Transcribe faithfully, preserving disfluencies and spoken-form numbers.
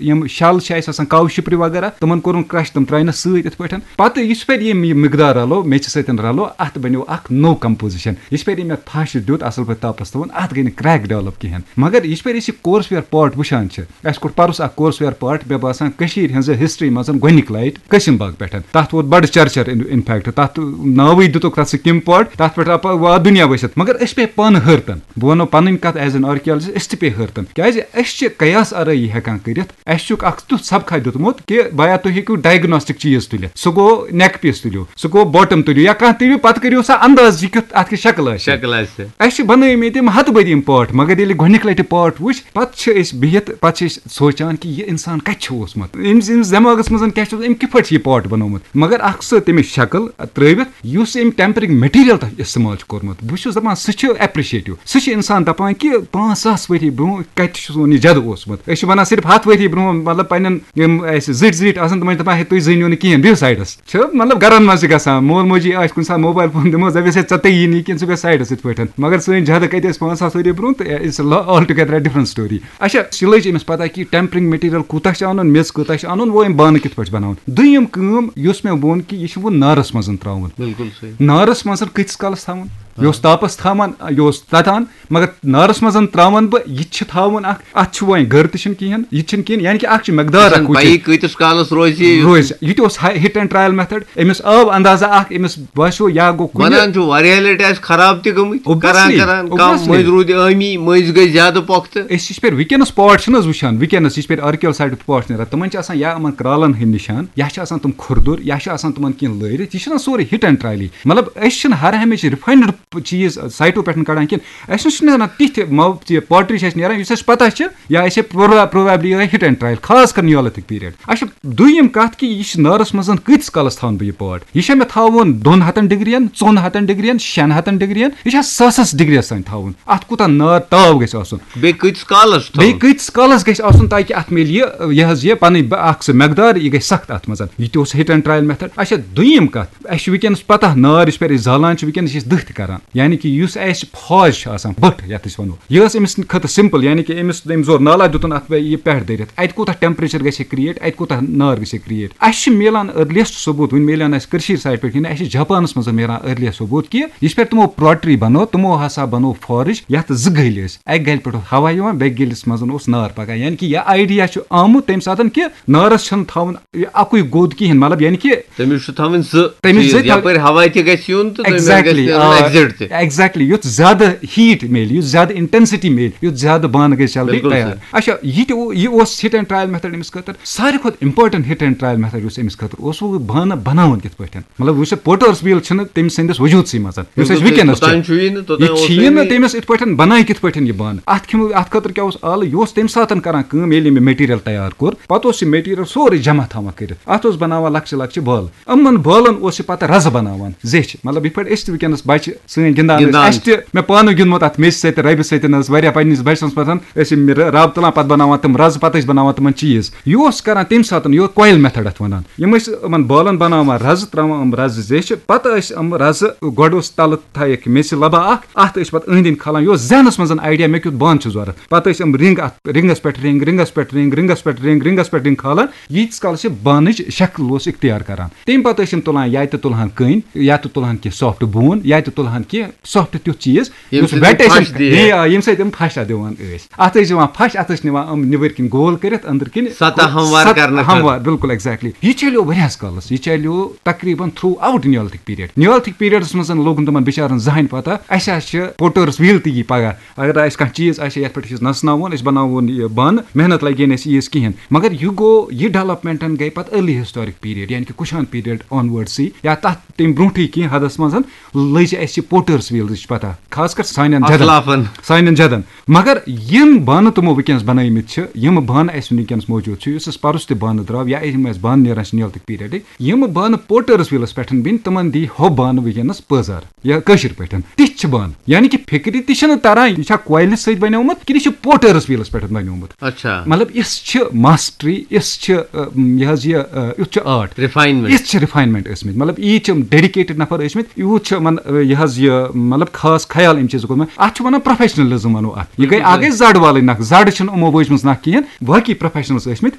یِم شل چھِ اَسہِ آسان، کاو شِپرِ وغیرہ، تِمن کوٚرُن کرش، تِم ترٛاینَس سۭتۍ یِتھ پٲٹھۍ۔ پتہٕ یُس پھِرِ یِم یہِ مقدار رلو، میٚژِ سۭتۍ رلو، اَتھ بنیو اکھ نوٚو composition۔ یُس پھِرِ یہِ مےٚ پھش دیُت، اَصٕل پٲٹھۍ تاپس تھوٚوُن، اَتھ گٔے نہٕ crack develop کِہینۍ۔ مگر یُس پھِرِ أسۍ یہِ courseware part وٕچھان چھِ، اَسہِ کوٚر پَرُس اکھ courseware part، مےٚ باسان کٔشیٖرِ ہٕنٛزِ history منٛز گۄڈٕنِک لٹہِ قٲسِم باغ پٮ۪ٹھ۔ تَتھ ووت بڑٕ چرچر in fact، تَتھ ناوٕے دِتُکھ تَتھ سُہ کِم part، تَتھ پٮ۪ٹھ آو پَتہٕ واد دُنیا ؤسِتھ۔ مگر أسۍ پے پانہٕ حٲرتن۔ بہٕ وَنو پَنٕنۍ کَتھ as an archaeologist، أسۍ تہِ پے حٲرتن۔ کیٛازِ أسۍ چھِ قیاس آرٲیی ہٮ۪کان کٔرِتھ۔ اَسہِ چھُکھ اکھ تیُتھ سبقہ دیُتمُت کہِ بایا تُہۍ ہیٚکِو diagnostic چیٖز تُلِتھ۔ سُہ گوٚو neck piece تُلِو، سُہ گوٚو bottom تُلِو، یا کانٛہہ تُلِو، پَتہٕ کٔرِو سا انداز یہِ کیُتھ اَتھ کیٛاہ شکل آسہِ۔ شکل آسہِ۔ اَسہِ چھِ بنٲومٕتۍ یِم ہتہٕ بٔدۍ یِم part، مگر ییٚلہِ گۄڈٕنِکۍ لٹہِ part وٕچھ، پتہٕ چھِ أسۍ بِہِتھ، پتہٕ چھِ أسۍ سونٛچان کہِ یہِ اِنسان کَتہِ چھُ اوسمُت، أمِس، أمِس دٮ۪ماغَس منٛز کیٛاہ چھُ اوسمُت، أمۍ کِتھ پٲٹھۍ چھُ یہِ part بنوومُت۔ مگر اَکھ سُہ تٔمِس شکل ترٛٲوِتھ، یُس أمۍ tempering material تَتھ استعمال چھُ کوٚرمُت، بہٕ چھُس دَپان سُہ چھُ appreciative۔ سُہ چھُ اِنسان دَپان کہِ پانٛژھ ساس ؤری برٛونٛہہ کَتہِ چھُس وۄنۍ یہِ زیادٕ اوسمُت۔ أسۍ چھِ وَنان صرف ہَتھ ؤری برٛونٛہہ، مطلب، پنٛنٮ۪ن یِم اَسہِ زِٹھۍ زِٹھۍ آسَن، تِمَن چھِ دَپان، "ہے، تُہۍ زٲنِو نہٕ کِہیٖنۍ، بِہِو سایڈَس۔" چھِ، مطلب، گَرَن منٛز چھِ گژھان، مول موجی آسہِ کُنہِ ساتہٕ موبایل فون دِمو، دَپٮ۪س، "ہے، ژےٚ تَگی نہٕ یہِ کِہیٖنۍ، ژٕ بیٚہہ سایڈَس یِتھ پٲٹھۍ۔" مگر سٲنۍ جدٕ کَتہِ ٲسۍ پانٛژھ ساس ؤری برٛونٛہہ، تہٕ it's altogether different story۔ اچھا، یہِ لٔج أمِس پَتہ کہِ tempering material کوٗتاہ چھُ اَنُن، میٚژ کۭژاہ چھِ اَنُن، وۄنۍ یِم بانہٕ کِتھ پٲٹھۍ چھِ بَناوُن۔ دوٚیِم کٲم یُس مےٚ ووٚن کہِ یہِ چھُ وۄنۍ نارَس منٛز ترٛاوُن۔ بِلکُل صحیح۔ نارَس منٛز کۭتِس کالَس تھاوُن؟ یہِ اوس تاپَس تھاوان، یہِ اوس تَتان، مگر نارَس منٛز ترٛاوَن بہٕ، یہِ تہِ چھِ تھاوُن اَکھ، اَتھ چھُ وۄنۍ گٔر تہِ چھِنہٕ کِہیٖنۍ، یہِ تہِ چھِنہٕ کِہیٖنۍ، یعنی کہِ اَکھ چھِ مقدار اَکھ پَیی وٕچھِنۍ۔ کۭتِس کالَس روزِ یہِ؟ روزِ۔ یہِ تہِ اوس ہاے-، hit and trial method۔ أمِس آو اندازہ اَکھ، أمِس باسیو یا گوٚو کُنہِ۔ وَنان چھُ واریاہ لَٹہِ آسہِ خراب تہِ گٔمٕتۍ، Obviously، کران کران، کانٛہہ obviously۔ مٔنٛزۍ روٗدۍ ٲمی، مٔنٛزۍ گٔے زیادٕ پۄختہٕ۔ أسۍ یِتھ پٲٹھۍ وٕنکیٚنَس part چھِنہٕ حظ وٕچھان، وٕنکیٚنَس یِتھ پٲٹھۍ archaeal site پٮ۪ٹھ part چھِ نیران، تِمَن چھِ آسان یا یِمَن کرٛالَن ہٕنٛدۍ نِشان، یا چھِ آسان تِم کھُردُر، یا چھِ آسان تِمَن کینٛہہ لٲرِتھ۔ یہِ چھِنہ سورُے hit and trial ی۔ مطلب، أسۍ چھِنہٕ ہر ہمیشہِ refined چیٖز سایٹو پٮ۪ٹھ کَڑان کِہیٖنۍ۔ اَسہِ نِش چھِنہٕ نیران تِتھۍ مو-، یہِ pottery چھِ اَسہِ نیران، یُس اَسہِ پَتہ چھِ، یا أسۍ چھِ پرٛو-، probably یِہوٚے hit and trial، خاص کر Neolithic period۔ اچھا، دوٚیِم کَتھ کہِ یہِ چھِ نارَس منٛز کۭتِس کالَس تھاوَن بہٕ یہِ part؟ یہِ چھا مےٚ تھاوُن دۄن ہَتَن ڈگرین، ژۄن ہَتَن ڈگرین، شٮ۪ن ہَتَن ڈگرین؟ یہِ چھا ساسَس ڈگریَس تام تھاوُن؟ اَتھ کوٗتاہ نار تاو گژھِ آسُن؟ بیٚیہِ کۭتِس کالَس چھُ بیٚیہِ تھاوُن؟ کۭتِس کالَس گژھِ آسُن تاکہِ اَتھ میلہِ یہِ، یہِ حظ یہِ پَنٕنۍ بہ-، اَکھ سُہ مقدار، یہِ گژھِ سخت اَتھ منٛز۔ یہِ تہِ اوس hit and trial method۔ اچھا، دوٚیِم کَتھ، اَسہِ چھُ وٕنکیٚنَس پَتہ نار یُس پٮ۪ٹھ أسۍ زالان چھِ، وٕنکیٚنَس چھِ أسۍ دٔہ تہِ کَران۔ یعنی کہِ یُس اَسہِ فاز چھِ آسان، بٔٹھ یَتھ أسۍ وَنو، یہِ ٲس أمِس خٲطرٕ simple، یعنی کہِ أمِس، أمۍ زور نالا دیُتُن اَتھ پٮ۪ٹھ یہِ پٮ۪ٹھ دٲرِتھ، اَتہِ کوٗتاہ temperature گژھِ create، اَتہِ کوٗتاہ نار گژھِ create۔ اَسہِ چھِ میلان earliest ثبوٗت، وٕنہِ میلیو نہٕ اَسہِ کٔشیٖرِ side پٮ۪ٹھ کِہیٖنۍ، اَسہِ چھِ جاپانَس منٛز میلان earliest ثبوٗت کہِ یُس پٮ۪ٹھ تِمو pottery بَنٲو، تِمو ہسا بَنٲو forge، یَتھ زٕ گٔلۍ ٲسۍ، اَکہِ گَلہِ پٮ۪ٹھ اوس ہوا یِوان، بیٚکہِ گٔلِس منٛز اوس نار پَکان۔ یعنی کہِ یہِ idea چھُ آمُت تَمہِ ساتہٕ کہِ نارَس چھَنہٕ تھاوُن یہِ اَکُے گوٚد کِہیٖنۍ، مطلب، یعنی کہِ تٔمِس چھُ تھاوٕنۍ زٕ تٔمِس چیٖز، زٕ تھاو- یَپٲرۍ ہوا تہِ گژھِ یُن تہٕ تٔمۍ گژھِ Exactly، نیرُن آ، exit تہِ۔ Exactly، یُتھ زیادٕ heat میلہِ، یُتھ زیادٕ intensity میلہِ، یُتھ زیادٕ بانہٕ گژھِ جلدی بِلکُل تیار۔ سر۔ اچھا، یہِ تہِ او-، یہِ اوس hit and trial method أمِس خٲطرٕ۔ ساروی کھۄتہٕ important hit and trial method یُس أمِس خٲطرٕ اوس، سُہ گوٚو بانہٕ بَناوُن کِتھ پٲٹھۍ۔ مطلب، یُس یہِ potter's wheel چھِنہٕ تٔمۍ سٕنٛدِس وجوٗدسٕے منٛز، یُس اَسہِ بِلکُل، وٕنکیٚنَس چھُ۔ توٚتام چھُ یی نہٕ، توٚتام یہِ اوس چھُ یی نہٕ نہٕ۔ تٔمِس یِتھ پٲٹھۍ بَنایہِ کِتھ پٲٹھۍ یہِ بانہٕ۔ اَتھ کھیٚمو-، اَتھ خٲطرٕ کیٛاہ اوس آلہٕ؟ یہِ اوس تَمہِ ساتہٕ کَران کٲم، ییٚلہِ أمۍ یہِ material تیار کوٚر، پَتہٕ اوس یہِ material سورُے جمع تھاوان کٔرِتھ۔ اَتھ اوس بَناوان لۄکچہِ لۄکچہِ بالہٕ۔ یِمَن بالَن اوس یہِ پَتہٕ رَزٕ بَناوان زیچھِ۔ مطلب، یِتھ پٲٹھۍ أسۍ تہِ وٕنکیٚنَس بَچہِ، سٲنۍ گِنٛدان ٲسۍ۔ گِنٛدان۔ اَسہِ تہِ، مےٚ پانہٕ گیُنٛدمُت اَتھ میٚژِ سۭتۍ، رَبہِ سۭتۍ حظ، واریاہ پنٛنِس بَچپَنَس منٛز ٲسۍ یِم رَب تُلان، پَتہٕ بَناوان تِم رَزٕ، پَتہٕ ٲسۍ بَناوان تِمَن چیٖز۔ یہِ اوس کَران تَمہِ ساتہٕ، یہِ اوس coil method اَتھ وَنان۔ یِم ٲسۍ یِمَن بالَن بَناوان رَزٕ، ترٛاوان یِم رَزٕ زیچھِ، پَتہٕ ٲسۍ یِم رَزٕ گۄڈٕ اوس تَلہٕ تھایَکھ میٚژِ لَبہ اَکھ، اَتھ ٲسۍ پَتہٕ أنٛدۍ أنٛدۍ کھالان۔ یہِ اوس ذہنَس منٛز idea، مےٚ کیُتھ بانہٕ چھُ ضوٚرَتھ۔ پَتہٕ ٲسۍ یِم رِنٛگ اَتھ، رِنٛگَس پٮ۪ٹھ رِنٛگ، رِنٛگَس پٮ۪ٹھ رِنٛگ، رِنٛگَس پٮ۪ٹھ رِنٛگ، رِنٛگَس پٮ۪ٹھ رِنٛگ کھالان، ییٖتِس کالَس یہِ بانٕچ شکل اوس اختیار کران۔ تَمہِ پَتہٕ ٲسۍ یِم تُلان، یا تہِ تُلہٕ ہن کٔنۍ، یا تہِ تُلہٕ ہن کینٛہہ soft بون، یا تہِ تُلہٕ ہن کینٛہہ soft تیُتھ چیٖز، ییٚمہِ یُس سۭتۍ wet یِم ٲسۍ پھش یِم، دِیہِ۔ یہِ، آ، ییٚمہِ سۭتۍ یِم پھش اَتھ دِوان ٲسۍ۔ اَتھ ٲسۍ دِوان پھش، اَتھ ٲسۍ نِوان یِم نیٚبٕرۍ کِنۍ گول کٔرِتھ، أنٛدٕرۍ کِنۍ سطح ہموار سطح کرنہٕ خٲطرٕ۔ ہموار، بِلکُل، exactly۔ یہِ چلیو واریاہَس کالَس، یہِ چلیو تقریٖباً throughout Neolithic period۔ Neolithic periodَس منٛز لوٚگ نہٕ تِمَن بِچارَن زٕہٕنۍ پَتہ، اَسہِ حظ چھِ potter's wheel تہِ یی پَگاہ۔ اگر اَسہِ کانٛہہ چیٖز آسہِ ہے یَتھ پٮ۪ٹھ أسۍ نَژناوون، أسۍ بَناوون یہِ بانہٕ، محنت لَگہِ ہے نہٕ اَسہِ ییٖژ کِہیٖنۍ۔ مگر یہِ گوٚو، یہِ development گٔے پَتہٕ early historic period، یعنی کہِ کُشان period onwards ٕے، یا تَتھ تَمہِ برونٛٹھٕے کینٛہہ حدَس منٛز لٔج اَسہِ یہِ potter's wheel ٕچ پَتہ، خاص کر سانٮ۪ن جدَن۔ اَسلافَن۔ سانٮ۪ن جدَن۔ مگر یِم بانہٕ تِمو وٕنکیٚنَس بَنٲومٕتۍ چھِ، یِم بانہٕ اَسہِ وٕنکیٚنَس موجوٗد چھُ، یُس اَسہِ پَرُس تہِ بانہٕ درٛاو، یا یِم اَسہِ بانہٕ نیران چھِ Neolithic period ٕکۍ، یِم بانہٕ potter's wheel َس پٮ۪ٹھ بِنۍ، تِمَن دی ہُہ بانہٕ وٕنکیٚنَس پٲزار۔ یا کٲشِر پٲٹھۍ۔ تِتھۍ چھِ بانہٕ۔ یعنی کہِ فِکرِ تہِ چھِنہٕ تَران، یہِ چھا coil سۭتۍ بَنیومُت کِنہٕ یہِ چھُ potter's wheel َس پٮ۪ٹھ بَنیومُت۔ اچھا۔ مطلب، یِژھ چھِ mastery، یِژھ چھِ، ٲ، یہِ حظ یہِ، ٲ، یُتھ چھُ art۔ Refinement۔ یِژھ چھِ refinement ٲسمٕتۍ۔ مطلب، ییٖتۍ چھِ یِم dedicated نفر ٲسمٕتۍ، یوٗت چھُ یِمَن، ٲ، یہِ حظ یہِ، مطلب، خاص خیال اَمہِ چیٖزُک کوٚرمُت۔ اَتھ چھِ وَنان professionalism وَنو اَتھ۔ یہِ گٔے، بِلکُل اَکھ صحیح۔ گٔے زَڈ والٕنۍ نَکھ، زَڈ چھِنہٕ یِمو وٲجمٕژ نَکھ کِہیٖنۍ، باقٕے professionals ٲسمٕتۍ۔